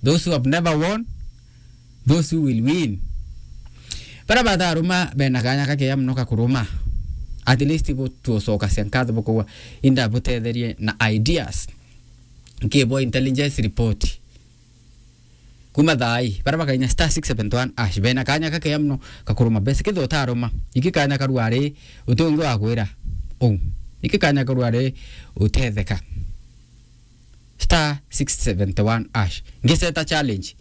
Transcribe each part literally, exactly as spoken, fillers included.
Those who have never won, those who will win. Bara bataruma bena kanya kakea muno ka kuruma. At least bu tucoka cia nkatho bukauga, inda butetherie na ideas. Nkibo intelligence report. Kuma thaai, bara bakainya star six seven one hash, bena kanya kakea muno ka kuruma besa. Kethira utaruma, iki kanya karua ri, uti ungi wa kwira uu. Iki kanya karua ri, utetheka. Star six seven one hash. Ngiseta challenge.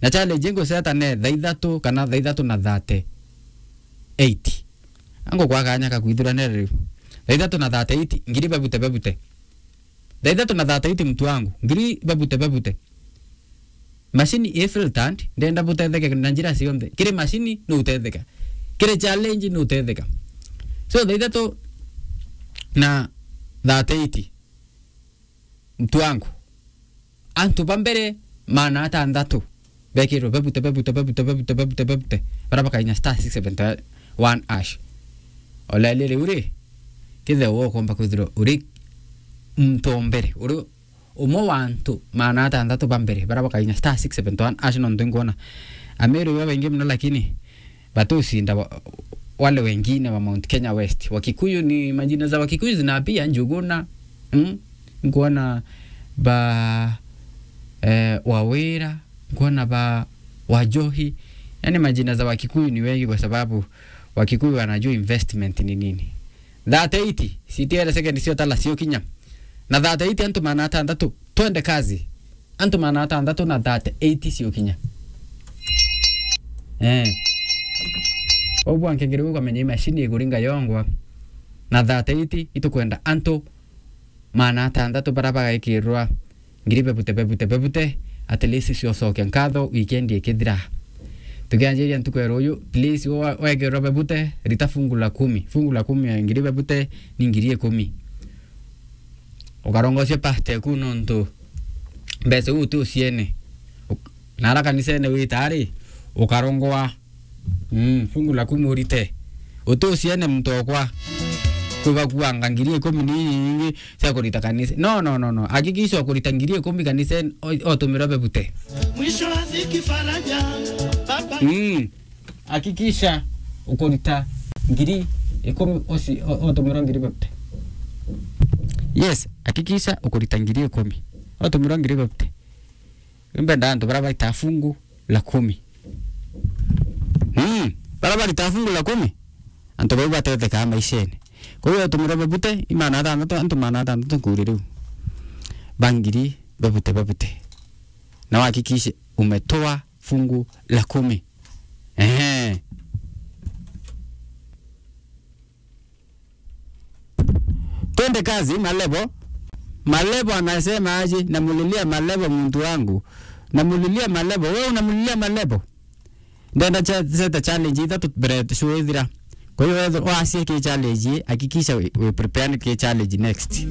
Na challenge nguseta ne thaa ithatu kana thaa ithatu na thirty-eight. Angukwa kanya ka kwithuranira riu. Thaa ithatu na thirty-eight, ngiri bebute bebute. Thaa ithatu na thirty-eight, mtu wangu, ngiri bebute bebute. Machine i filtered, ndenda butetheke na njira cionthe. Kiri machine no utetheka. Kiri challenge no utetheka. So, thaa ithatu na thirty-eight, mtu wangu, antu ba mbere maana atanthatu bekirwe bebute, bebute, bebute, bebute, bebute, bebute, bara bakainya star six seven one hash. Olelele uri, kethira ukomba kwithirwa uri muntu o mbere, uri umwe wa antu maana atanthatu ba mbere, bara bakainya star six seven one hash, nontu inkwona Ameru iba baingi muno, lakini batusinda wa-, wale wengine wa Mount Kenya West. Wakikuyu ni majina za Wakikuyu zinapia, Njuguna, mm? Nkuona ba, eh, Wawira, nkuona ba Wajohi. Yani majina za Wakikuyu ni wengi kwa sababu Wakikuyu wanajua investment ni nini. Thirty-eight, citiere second cio tala cio kinya. Na thirty-eight antu maana atanthatu, twende kazi. Antu maana atanthatu na thirty-eight cio kinya. Eh. Obu ankengere ukamenya imashini iguringa yongwa. Na thirty-eight itukwenda antu maana atanthatu bara bagekirwa ngiri bebute, bebute, bebute, at least cio cokia nkatho weekend ikithira. Tukianjiria ntuku ya ruyu, please, wa-, wekirwa bebute, rita fungu la kumi. Fungu la kumi ya ngiri bebute ni ngiri ikumi. Ukarongocia past eku nontu mbeca iu uti uciene. Uk-, nara kanisene wita ari, ukarongoa Mm, fungu la kumi urite. Uti uciene muntu okwa. Kwibakuanga ngiri ikumi ni nyingi cia kurita kanisa. No, no, no, no. Hakikisha ukurita ngiri ikumi kanisa, o-, otumirwa bebute. Mwisho wa dhiki faraja, baba. Mm. Hakikisha ukurita ngiri ikumi uci-, o-, otumirwa ngiri bebute. Yes, hakikisha ukurita ngiri ikumi. Otumirwa ngiri bebute. Mbenda antu bara baita fungu la kumi. Mm, bara barita fungu la kumi, antu bau batethekaa maishene. Kwa hiyo otumirwa bebute, i maana atanthatu, antu maana atanthatu nkuri riu. Ba ngiri bebute, bebute. Na uhakikishe umetoa fungu la kumi. Ehe. Twende kazi, Malebo. Malebo anasema aje? Namulilia Malebo, muntu wangu. Namulilia Malebo. Wewe unamulilia Malebo? Ndenda cha-, seta challenge ithatu mbere show ithira. Kwa hiyo, wewe wasie ki challenge, hakikisha we, we prepare ki challenge next.